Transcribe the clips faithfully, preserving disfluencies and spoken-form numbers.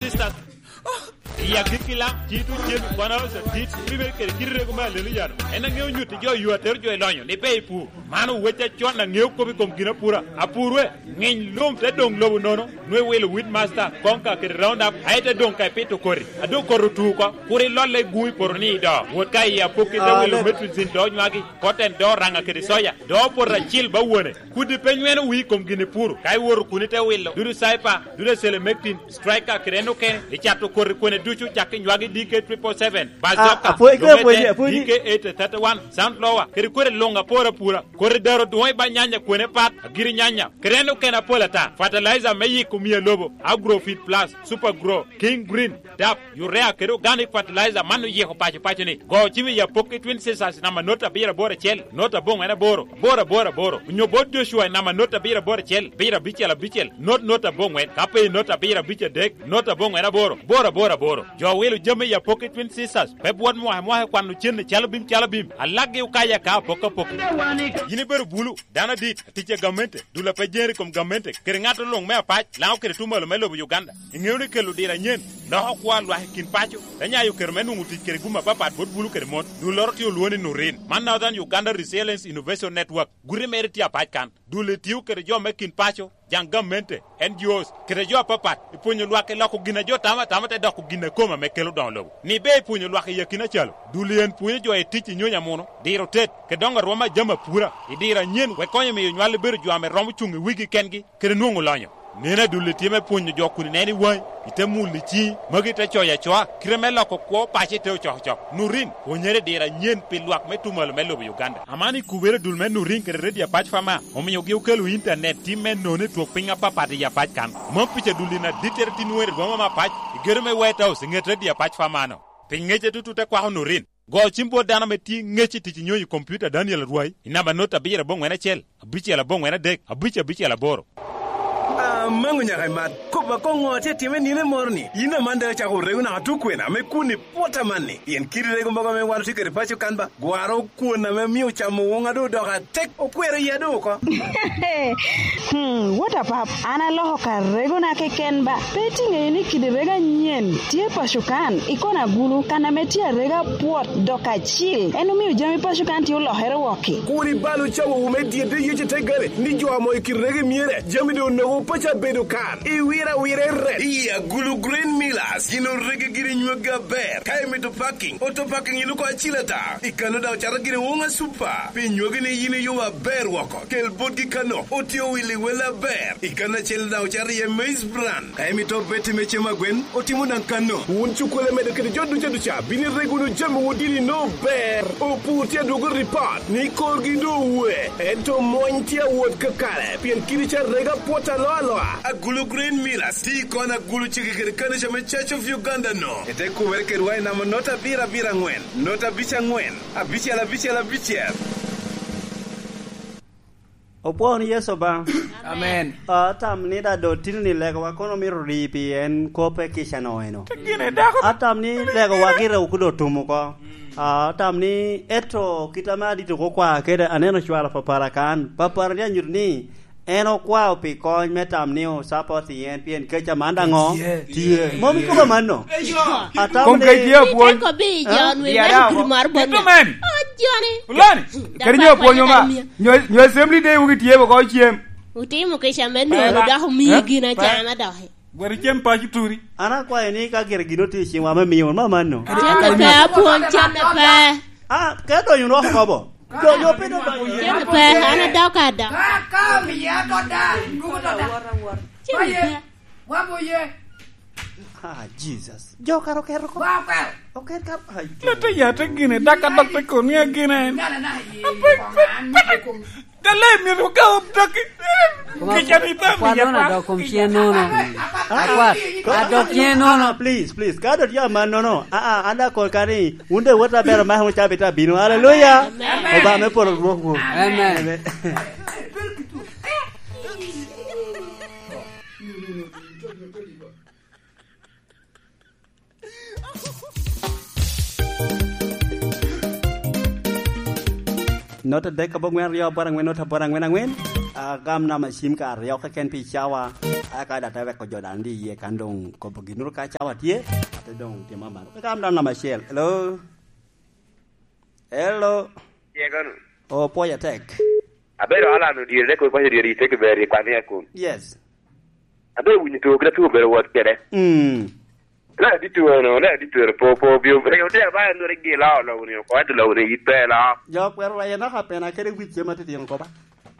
Sisters. I agikki lam, ci tuc cen i kwana oca dit, pi bedo kede kite rego me alelo yano. En aŋeo nyutti jo yo atero jo i lonyo, ni pe i pur. Man owec acon aŋeo kop i kom gin apura. Apur we, ŋiny lum te doŋ lobo nono, nwe wilo wheat master, konka kede round up, aye te doŋ ka ipito koti. A doŋ koti otu oko, kur ilolle i gumi poto ni i do. Wot ka i apokki te wilo metricin do nywagi, cotton do raŋa kede soya, do poto acil ba wone. Kudi pe nyweno wii kom gin ipuro, ka iwoto kun ite wilo, dudu cyper, dudu selemectin, striker kede en okene, icato koti kwene ducu cak i nywagi D K triple seven, bazoka, apwony, apwony, apwony. D K eight thirty-one, sunflower, kede kwene luŋ apor apura, koti daro dwoŋ i ba nyanya kwene pat, agiri nyanya, kede en okene apol ata, fertilizer me yiko mia lobo, Agrofit Plus, Super Grow, King Green, dap, urea kede organic fertilizer man oyiko paco paco ni. Go cim i apokki Twin Sisters namba not abiro aboro acel, not aboŋwen aboro, aboro aboro aboro. Onyo bot Joshua i namba not abiro aboro acel, abiro abicel abicel, not not aboŋwen. Ka pe i not abiro abic adek, not aboŋwen aboro, aboro aboro aboro. Jo wilo jami i apokki Twin Sisters, pe bwot mwaka mwaka kwano cen i calo bim calo bim. Alakgi okaya ka apok apok. Yin ibedo bulu, dano adit, atic a gamente, dul a pe jeri i kom gamente, kede ŋat oluŋ me apac, Laŋo kede tumalo me lobo Uganda. Iŋeo ni kelo diro anyen, loko kwo a lwak i kin paco, te nyayo kero me nwoŋo tic kede gum apapat bot bulu kede mon. Dulloro tye olwoŋo ni Nurin, man Northern Uganda Resilience Innovation Network, guti mere tye apac kan. Dul etio kede jo me kin paco, jaŋ gamente, N G Os, kede jo apapat, i pwonyo lwak i loko gin a jo tamo atama te doko gin a kome ame kelo doŋo lobo. Ni ber i pwonyo lwak i akina calo, dul en pwonyo jo i tic i nyonyo amuno, diro tet, kede doŋo arwom a jami apura, i diro anyen, wek konyo miyo nywal ibedo jo ame romo cuŋ i wigi kengi, kede nwoŋo lonyo. Nen adulli tye me pwonyo jo kun ineno i waŋi, ite mulo i ciŋi, magi te coyo acoa, kite me loko kwo paco ite ocokocok. Nurin, pwonyere i diro anyen pi lwak me tumalo me lobo Uganda. Aman i kubere dul me Nurin kede Redio Apac Fama, omiogi okelo intanet tim me nono i twok piny apapat i Apac kan. Mom pica dulli na dittere tin wer i boma me Apac, i gedo me White House, i ŋet Redio Apac Fama-no. Pi ŋec atutu te kwako Nurin. Go cim bot dano ame tye ŋec i tic i nyonyo i kompiuta Daniel Arwai, i namba not abiro aboŋwen acel, abicel aboŋwen adek, abic abicel aboro. Amaŋo nyaka imat, kop akoŋo tye time nino moro ni, yin aman daŋ icako rego naka tukwena ame kun ipwot amanni, pien kit rego mogo ame wan otye kede paco kan ba, gwaro kwon ame omio camo woŋa doŋ odoko atek, okwero iya doŋ oko. Hmm, what a pap, an aloko ka regona keken ba, pe itiŋeyo ni kidi rego anyen tye paco kan, ikono agulu, kan ame tye arega pwot dok acil, en omio jami paco kan tye olokere wok-ki. Kur ibal ocawowu me dyedde Yecu te gare, ni jo amo i kit rege myere, jami doŋ onogo paco abedo kan, iwiro awira i ret. I agulu Green Millers, gin orege giri nywagi aber, ka imito parking, auto parking iluko acil ata, i kano daŋ ocato giri woŋa super, pi nywagi ni yin iyubo aber woko, kel botgi kano, otye owil i wel aber, i kano acel daŋ ocato iye maize bran, ka imito beti me cem agwen, otimo daŋ kano. Wun cukkole medo kede jo duca duca, bino irego wunu jami wun dini no ber. Opur tye adwogo ripot ni korgi doŋ owe, ento mony tye awot kakare, pien kidi ca rega pwot alo aloa. Agulu Green Millers, ti kon agulu cege kede kanica me Church of Uganda no. Ete kubere kedwa i namba not abiro abiro aŋwen, not abic aŋwen, abicel abicel abicel. Opwoo ni Yecu Obaŋa. Amen. Ah, atam ni da do tino ni legowa kono mito ri pi en kope kica no eno. Gine dako. Atam ni legowa gire okudo tum oko. Ah, atam ni eto kit ame adito ko kwa kede aneno cwalo papara kan. Papara ni anyuto ni en okwao pi kony me tam ni o support i en pien keca man daŋo. Tye. Tye. Mom ikobo manno. Atam kom ni kec tye apwony. Iteko bi i jo nwe. Yara man oko. Kudu mar bonda. Ito men. Oh, joni. Ulani. Kadi nyo apwonyo ma. Nyo, nyo Assembly Day wugi tye boko cem. Utimo kica me nono dok omiyo gin acama dok. Gwero cem paco turi. An akwayo ni ka gire gin otye i ciŋwa me miyo ma manno. Cem pe apwony, cem pe. Ah, ka donyo nok kobo. Donyo pe donyo. Cem pe, an adok ada. Ka, ka omiye ato da, dugo to da. Cem pe. Wabo ye. Ah, Jesus. Jo kara oketo ko. Wa oketo. Oket ka, ai. Lete yate gine, dak adok te koni agine. Na, na, na, ye, pe, pe, pe. Dale myero ka odok. Kica ni pe kwat miya nono pa. Adok kom cien nono. Akwat, adok cien nono. Please, please. Ka dot ya man nono. Ah, ah, an da kor kani. Wun de wot aber ma hamo cabita bino. Hallelujah. Amen. Oba me polo rwok wo. Amen. Amen. Nota dek aboŋwen aryo aboro aŋwen, nota aboro aŋwen aŋwen. Ah, gam namba cim ka aryo keken pi cawa. Aka da te weko jo dan di iye kan dong kobo ginuru ka cawa tye, ate dong timo man. Ka kam dan namba acel. Hello? Hello? Tye kono. Oh, pwoya tek. Abedo Alan Odyere, dek kodi paco Odyere, ite kiberi, kwan i akun. Yes. Abedo winyo tuo, kit atuo bedo wot kede. Mm. Na di tuo no, na di tuo po, po, bio, bio, te ba, no, regi lao, lo, ni, ko, ati, lo, ni, ite, lo. Jo kwero wa yena ka pena kede wic ma titino koba.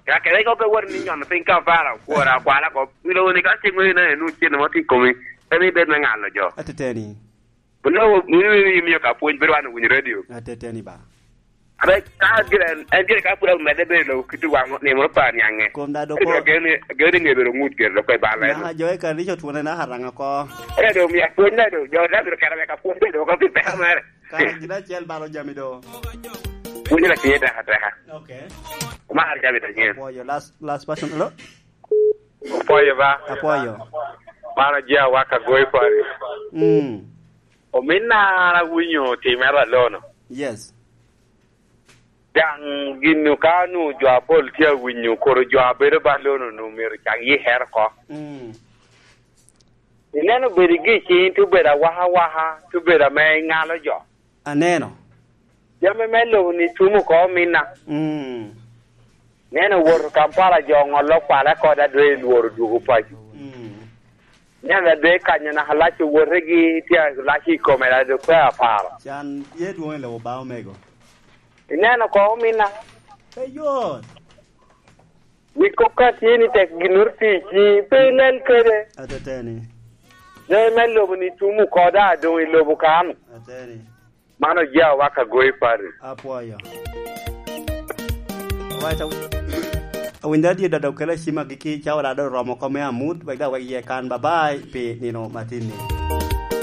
Ya kede ko pe wot ni nyono piny ka para, kwora, kwala ko, ilo ni ka cing ŋwene na enu cen mo ti komi, pe mi bed me ŋalo jo. Ateteni. Bulo, ni, ni, ni, miyo ka pwony, bedo wan winyo radio. Ateteni ba. Abe, ka gire, en, en gire ka pwod omedde bedo lo, kiti waŋ, ni mo pa nyaŋe. Kom da do ko. Gene, gene ŋe bedo ŋut gire lo ko i bala. Na jo e kanisa twone na haranga ko. E do mi apwony na do, jo da biro kara me ka pwony bedo ko pi pera mere. Kara gina cel balo jami do. Pwony na tiye teka teka. Okay. Mar jami ta nyen. Boyo, last, last person. Hello? Apoyo ba. Apoyo. Mano je awaka goyo pari. Mm. Ominna an awinyo timere alono. Yes. Daŋ gin ka nu jo apol tye awinyo, koro jo a bedo ba alono nu myero cak yikere oko. Mm. Ineno bedo gi cing, tye obedo awaka awaka, tye obedo ame iŋalo jo. Aneno. Jami me lobo ni tum oko ominna. Mm. Neno woto Kampala jo ŋolo kwala koda dwe lworo dwogo paco. Mm. Neno adwe kanyo naka lac owotegi tye lac i kome la dok pe aparo. Can ye dwong i lobo ba omego. Ineno ko ominna. Pe yot. Ni kop ka tye ni tek ginnoro tic ni pe ilel kede. Ateteni. Jami me lobo ni tum oko da doŋ i lobo kan. Ateni. Mano ja waka goyi pari. Apwoyo. Alright, aw-, awinyo adye dodo kela cima giki cawa da do romo kome amut, wek da wek ye kan. Bye bye, pi nino matini.